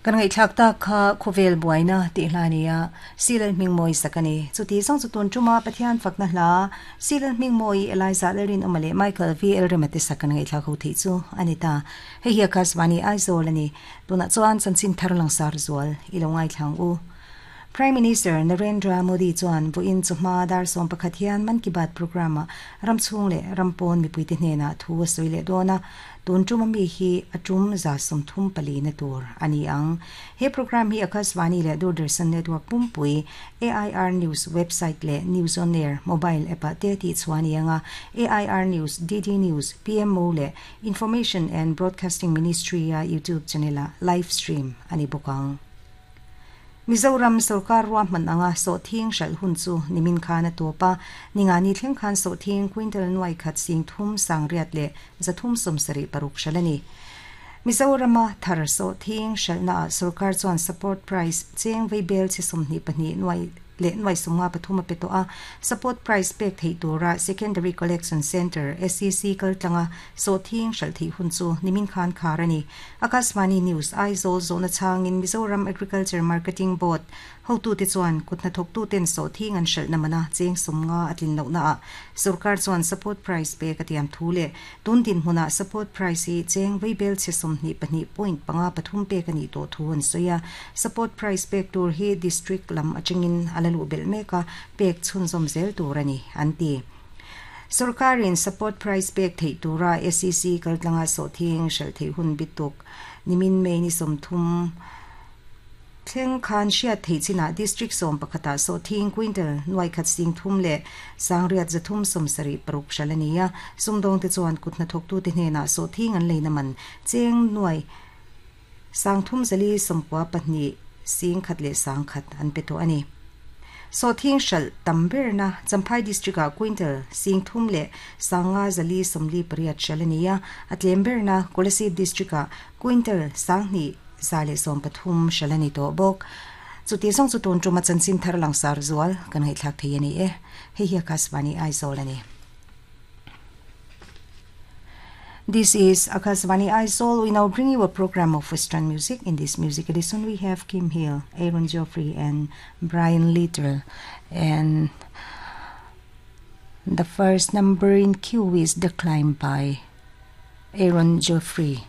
Kan ngaihthlak tak kha khawvel buaina tih hla a ni a, Silal Hmingmawi sak a ni. Chuti zawng chu tun tuma Pathian fakna hla Silal Hmingmawi, Eliza Lalrinawma leh Michael VL Rema te sak kan ngaihthlak ho theih chu a ni ta. Hei hi Akashvani Aizawl a ni. Tunah chuan chanchin thar langsar zual i lo ngaithla ang u. Prime Minister Narendra Modi chuan vawiin chawhma dar 11 hian Mann Ki Baat programme-ah ram chhung leh ram pawn mipuite hnenah thu a sawi leh dawn a, tun tuma mi hi a tum 34 na tur a ni ang. He programme hi Akashvani leh Doordarshan network pumpui, AIR News website leh News on Air mobile app-ah te tihchhuah a ni ang a, AIR News, DD News, PMO leh Information and Broadcasting Ministry-a YouTube channel-ah live stream a ni bawk ang. Mizoram sorkar ruahman anga sawhthing hralh hun chu nimin khan a tawp a, ningani thleng khan sawhthing quintal nuai khat sing thum sang riat leh zathum sawmsarih paruk hralh a ni. Mizorama thar sawhthing hralhnaah sorkar chuan support price cheng veibel chi 22 nuai leh nuai sawmnga pathum a pe tawh a, support price pek theih tura Secondary Collection Centre, SCC, kaltlanga sawhthing hralh theih hun chu nimin khan khar a ni. Akashvani News, Aizawl zawhna chhangin Mizoram Agriculture Marketing Board hotute chuan kut hnathawktuten sawhthing an hralhna mana cheng sawmnga a tlin lohnaah sorkar chuan support price pek a tiam thu leh tun dinhmunah support price hi cheng veibel chhe 22.53 pek a nih tawh thu an sawi a. Support price pek tur hi district lam atangin a la luh belh mek a, pek chhunzawm zel tur a ni, an ti. Sorkarin support price pek theih tura SEC kaltlanga sawhthing hralh theih hun bituk nimin May ni 30 thleng khan hriat theih chinah district 11ah sawhthing quintal nuai khat sing thum leh sangriat zathum 76 hralh a ni a, sumdawngte chuan kut hnathawktute hnenah sawhthing an leina man cheng nuai sang thum zali 92 sing khat leh sang khat an pe tawh a ni. Sawhthing hralh tam berna Champhai district-ah quintal sing thum leh sanga zali 48 hralh a ni a, a tlem berna Kolasib district-ah quintal 2113 hralh a ni tawh bawk. Chuti zawng chu tun tuma chanchin thar langsar zual kan ngaihthlak thei a ni e. Hei hi Akashvani Aizawl a ni. This is Akashvani Aizawl. We now bring you a program of Western music. In this music edition, we have Kim Hill, Aaron Geoffrey, and Brian Littrell. And the first number in queue is The Climb by Aaron Geoffrey.